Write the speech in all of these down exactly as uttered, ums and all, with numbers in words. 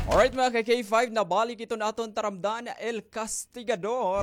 Alright, mga ka-K five, nabalik iton aton taramdan, El Castigador.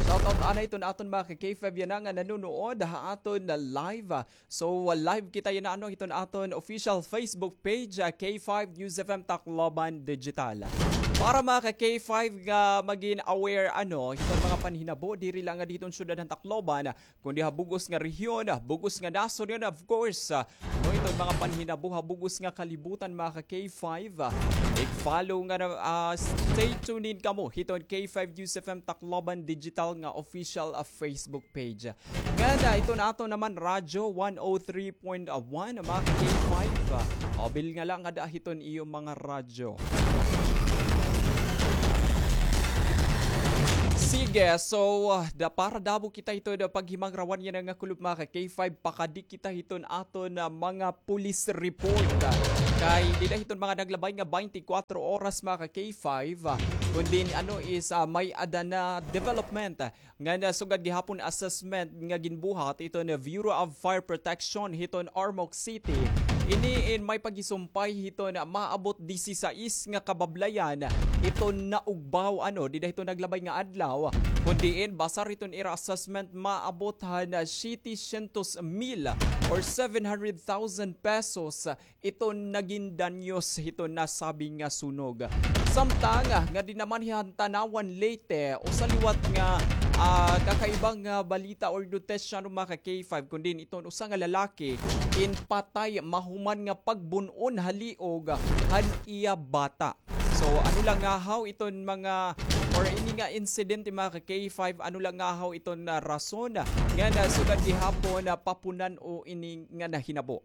Shoutout anay iton aton mga ka-K five yana nga nanunood ha aton na live. So, live kita yana, ano, hiton aton official Facebook page, ah, K five News F M Tacloban Digital. Para mga ka-K five nga magin aware, ano, hiton mga panhinabo, diri la nga diton syudad han Tacloban, kundi ha bug-os nga rehiyon, ha bug-os nga nasod, and of course, ah, no, iton mga panhinabo ha bug-os nga kalibutan, mga ka-K five, ah, i-follow nga na, ah, stay tuned in kamo hiton K five News F M Tacloban Digital nga official, ah, Facebook page. Ngan, ah, iton aton naman radyo, one oh three point one, mga ka-K five, ah, abil nga la ngada hiton iyo mga radyo. Sige, so, ah, da, para damo kita hiton, ah, paghimangrawan yana nga kulop, mga ka-K five, pakadi kita hiton aton, ah, mga police report, ah, kay dida hiton mga naglabay nga baynte kwatro oras, mga ka-K five, ah, kundi, ano, is, ah, may-ada na development, ah, ngan sugad gihapon assessment nga ginbuhat hiton Bureau of Fire Protection hiton Ormoc City. Ini in may paghisumpay hiton maabot disisais nga kabablayan iton naugbaw, ano, dida hiton naglabay nga adlaw. Kon diin, basar hiton ira assessment, maabot han siyete syentos mil or seven hundred thousand pesos iton nagin danyos hiton nasabi nga sunog. Samtang, ah, ngadi naman han Tanauan, Leyte, usa liwat nga, ah, kakaibang, ah, balita or notesya, no, mga ka-K five, kundi iton usa nga lalaki in patay mahuman nga pagbun-on ha liog han iya bata. So, ano la ngahaw iton mga, or ini nga insidente, mga ka-K five, ano la ngahaw iton, ah, rason nga nasugad gihapon na papunan-o ini nga nahinabo.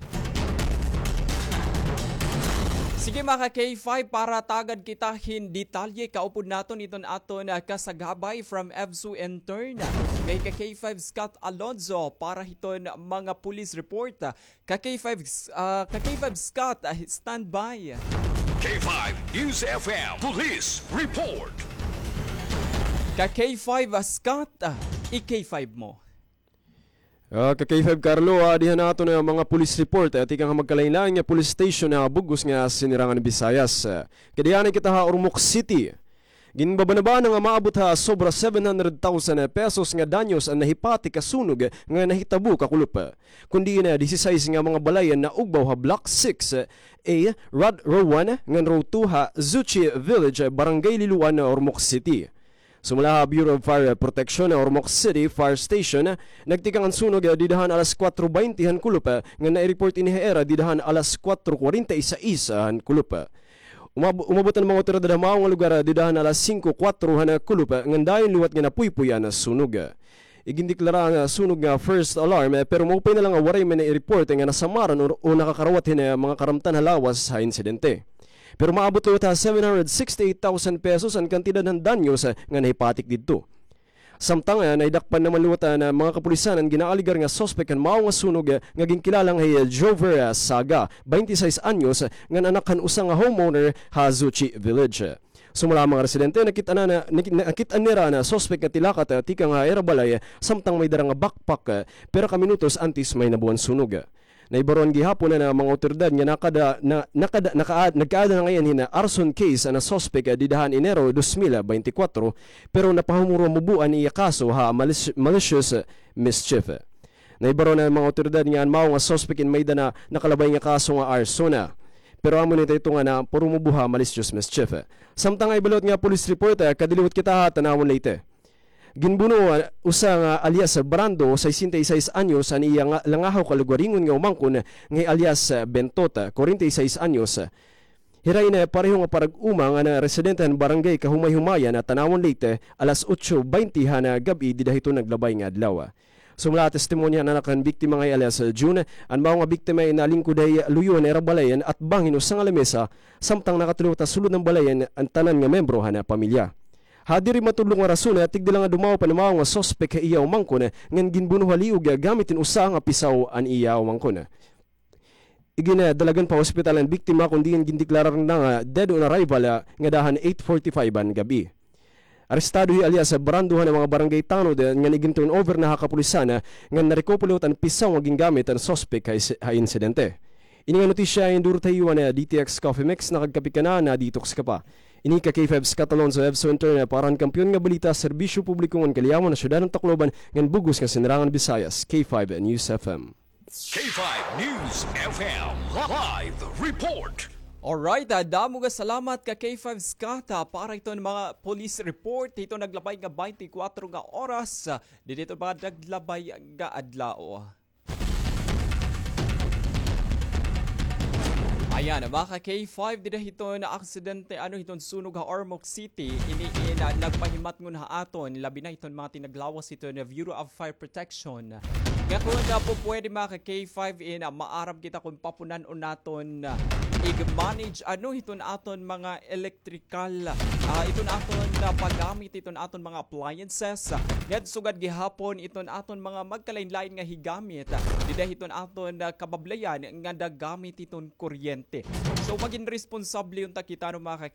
Sige, mga ka-K five, para tagad kita hin detalye, kaupod naton iton aton, ah, kasagabay from EVSU intern, kay ka-K five Scott Alonzo, para hiton mga police report. Ka-K five, ah, ka-K five Scott, ah, standby. K five News F M Police Report. Ka-K five, ah, Scott, ah, i-K five mo. Ah, ka-K five Carlo, ah, diha naton nga mga police report, ah, tikang ha magkalain-lain nga police station ha bug-os nga sinirangan Visayas. Ah, kadiha na kita ha Ormoc City. Ginbabanabana nga maabot ha sobra seven hundred thousand pesos nga danyos an nahipatik ha sunog nga nahitabo kakulop. Kon diin, ah, disisais nga mga balay an naugbaw ha Block six A, Rod Row one ngan Row two ha Zuchi Village, Barangay Liloan, Ormoc City. Sumala ha Bureau of Fire Protection, Ormoc City Fire Station, nagtikang an sunog dida han alas kuwatro baynte han kulop, ngan nai-report ini ha ira dida han alas kuwatro kwarenta y sais han kulop. Umab-, umabot an mga awtoridad ha mao nga lugar dida han alas singko kuwatro han kulop, ngan dayon liwat nga napuypoy an sunog. Igindeklara an sunog nga first alarm, pero maupay na la nga waray man nai-report nga nasamaran o, o nakakarawat hin mga karamtan ha lawas ha insidente. Pero maabot liwat ha seven hundred sixty-eight thousand pesos an kantidad han danyos nga nahipatik didto. Samtang, ah, naidakpan naman liwat an mga kapulisan an ginaalegar nga suspek han mao nga sunog, ah, nga ginkilala nga hi Jover, ah, Saga, baynte sais anyos, ngan anak han usa nga homeowner ha Zuchi Village. Sumala ha mga residente, nakit-an na, nakit-, nakit-an nira an suspek nga tilakat, ah, tikang ha ira balay, samtang may dara nga backpack, ah, pira ka minutos antes mahinabo an sunog. Naibaroan gihapon an mga awtoridad nga nakada-, na-, nakada-, naka-, nagkaada na ngay-an hin arson case an suspek, ah, dida han Enero dos mil baynte kwatro, pero napahumurumubo an iya kaso ha malis-, malicious mischief. Naibaroan an mga awtoridad nga an mao nga suspek in may-ada na nakalabay nga kaso nga arson. Pero amo ini ito nga napahumurumubo ha malicious mischief. Samtang ha iba liwat nga police report, ah, kadto liwat kita ha Tanauan, Leyte. Ginbuno, ah, usa nga alias Brando, sesenta y seis anyos, an iya nga langahaw kalugaringon nga umangkon nga hi alias, ah, Bentot, ah, kwarenta y seis anyos. Hira in, ah, pareho nga parag-uma nga na residente han barangay Kahumay-humayan, ah, Tanauan, Leyte, alas otso baynte han, ah, gab-i dida hiton naglabay nga adlaw. Sumala ha testimonya han anak han biktima nga hi alias, ah, June, an mao nga biktima in nalingkod ha luyo han ira balay an atbang hin usa nga lamesa, samtang nakatulog ha sulod han balay an tanan nga miyembro han, ah, pamilya. Ha diri matudlo nga rason, tigda la nga dumaop an mao nga suspek ha iya umangkon, ngan ginbuno ha liog gamit hin usa nga pisaw an iya umangkon. Iginadalagan pa ha ospital an biktima, kon diin gindeklarar na nga dead on arrival, ah, ngada han eight forty-five han gab-i. Arestado hi alias Brando han mga barangay tanod, ah, ngan igin-turnover na ha kapulisan, ah, ngan narekopo liwat an pisaw nga gingamit han suspek ha is-, ha insidente. Ini nga notisya ay enduro ta ha iyo han D T X Coffee Mix, nakagkape ka na, na-detox ka pa. Ini ka K five Scott Alonzo, Evso Internet, para han Kampiyon nga Balita, Serbisyo Publiko ngan Kaliyaman ha Syudad han Tacloban ngan bug-os nga Sinurangan Visayas, K five News F M. K five News F M live report. Alright, ah, damo nga salamat ka K five Scott, ah, para hiton mga police report hiton naglabay nga baynte kwatro nga oras, ah, didi hiton mga naglabay nga adlaw. Ayan, mga ka K five, dida hiton aksidente, ano, hiton sunog ha Ormoc City, ini in, ah, nagpahimatngon ha aton, labi na hiton mga tinaglawas hiton Bureau of Fire Protection. Nga kon, ah, pupwede, mga ka K five, in, ah, maaram kita kon papunan-on naton, ah, ig-manage, ano, hiton aton mga electrical, ah, iton aton, ah, paggamit, iton aton mga appliances, ah, ngan sugad gihapon iton aton mga magkalain-lain nga higamit, ah, dida hiton aton, ah, kabablayan nga nagamit iton kuryente. So, magin responsable unta kita, no, mga ka